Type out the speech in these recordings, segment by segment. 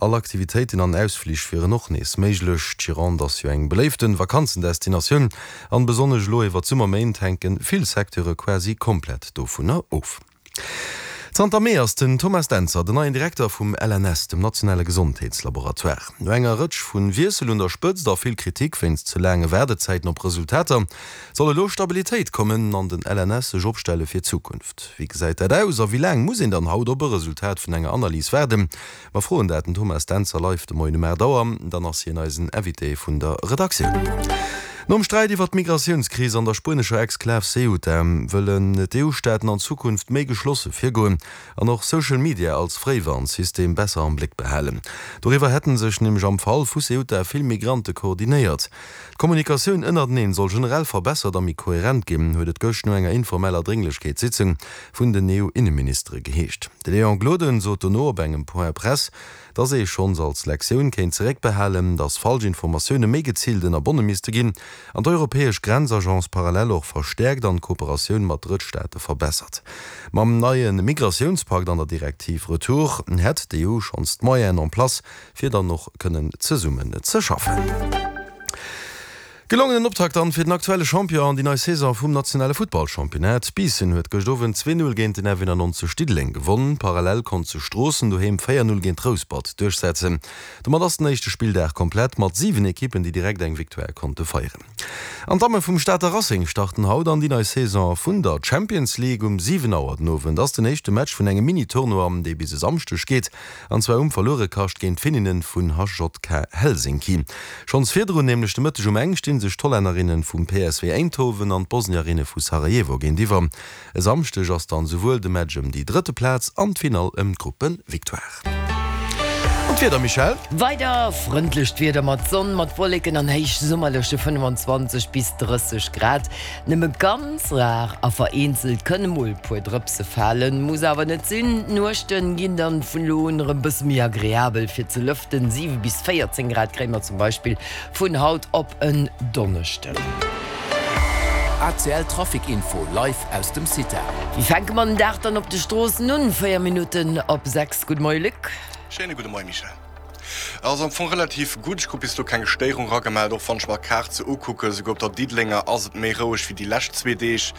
All Aktivitéiten an Ausflich wieren och nees méiglech. D'Gironde ass jo eng beléiften Vakanzendestinatioun an besonnesch elo iwwer d'Summerméint hänken vill Secteure quasi komplett dovunner of. Zanter Mee ass den Thomas Dentzer den neien Direkter vum LNS, dem nationale Gesondheetslaboratoire. No enger Rëtsch vu Wiessel un der Spëtzt a vill Kritik wéinst ze laange Waardezäiten op Resultater, soll elo Stabilitéit kommen an den LNS sech opstelle fir d'Zukunft. Wéi gesäit dat aus a wéi laang muss een dann haut op e Resultat vun enger Analys waarden? Mer froen dat den Thomas Dentzer live de Moien um 8 Auer. Dann ass hien eisen Invité vun der Redaktioun. Nom Sträit iwwer d'Migratiounskris an der spuenescher Exklav Ceuta wëllen d'EU-Staaten an Zukunft méi geschlosse virgoen an och Social Media als Fréiwarnsystem besser am Bléck behalen. Doriwwer hätte sech nämlech am Fall vu Ceuta vill Migrante koordinéiert. D'Kommunikatioun ënnerteneen soll generell verbessert a méi koherent ginn, huet et gëscht no enger informeller Drénglechkeetssitzung vun den EU-Inneministere geheescht. De Léon Gloden sot dono op engem Point presse, datt ee schonns als Lektioun kéint zeréckbehalen, datt falsch Informatioune méi geziilt ënnerbonne misste ginn an d'europäesch Grenzagence parallel och verstäerkt an d'Kooperatioun mat Drëttstaate verbessert. Mam neie Migratiounspakt an der Direktiv Retour hätt d'EU schonns d'Moyenen en place, fir dann och kënnen zesummen ze schaffen. Gelongenen Optakt dann fir den aktuelle Champion an déi nei Saison vum nationale Futtballchampionnat. Biissen huet gëscht Owend 2, 0 géint den F91 Diddeleng gewonn. Parallel konnt sech Stroossen doheem 4, 0 géint Rouspert duerchsetzen. Domat ass den éischte Spilldag komplett mat 7 Ekippen déi direkt eng Victoire konnte feieren. An d'Damme vum Stater Racing starten haut an déi nei Saison vun der Champions League. Um 7 Auer den Owend ass den éischte Match vun engem Mini-Tournoi dee bis e Samschdeg geet. An zwar um Verluerekascht géint d'Finninnen vun HJK Helsinki. Schonns virdrun, nämlech de Mëtteg um eng, sti sech d'Hollännerinne vum PSV Eindhoven an d'Bosnierinne vu Sarajevo géintiwwer. E Samschdeg ass dann souwuel de Match ëm déi drëtte Plaz an d'Finall ëm d'Gruppevictoire. An d'Wieder, Michèle? Weider frëndlecht Wieder mat Sonn, mat Wolleken an héichsummerleche 25 bis 30 Grad. Nëmme ganz rar a vereenzelt kënne mol puer Drëpse falen, muss awer net sinn. D'Nuechte ginn dann vun elo un erëm bësse méi agreabel fir ze lëften, 7 bis 14 Grad kréie mer zum Beispill vun haut op en Donneschden. ACL Trafic Info live aus dem CITA. Wéi fänke mer den Dag dann op de Stroossen un? 4 Minutten op 6. Gudde Moie Luc. Schéine gudde Moie Michèle. Ass am Fong relativ gutt, ech krut bis elo keng Stéierung ragemellt, och wann ech mer d'Kaart sou ukucken, souguer op der Diddelenger ass et méi roueg wéi déi lescht zwee Deeg.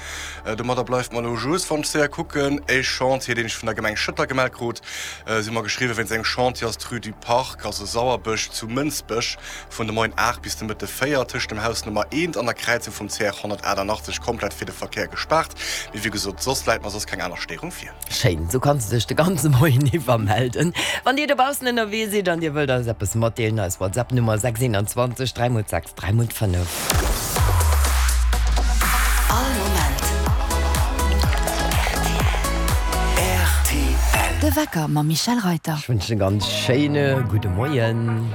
Domadder bleift mer elo just, wann ech séier kucken, e Chantier deen ech vun der Gemeng Schëtter gemellt krut. Si hu mer geschriwwen, wéinst engem Chantier ass d'Rue du Parc, also Sauerbësch zu Mënsbech, vun de Moien 8 bis de Mëtte 4 tëscht dem Haus Nummer 1 an der Kräizung vum CR 188 komplett fir de Verkéier gespaart. Mee wéi gesot, soss läit mer soss keng aner Stéierung vir. Schéin, sou kanns de dech de ganze Moien iwwer melden. Wann dir dobaussen ënnerwee sidd an dir wëllt eis eppes matdeelen, eis WhatsApp Nummer 621 3 x 6 3 x 5. All Moment rtl. De Wecker mam Michèle Reyter. Ech wënschen e ganz schéine gudde Moien.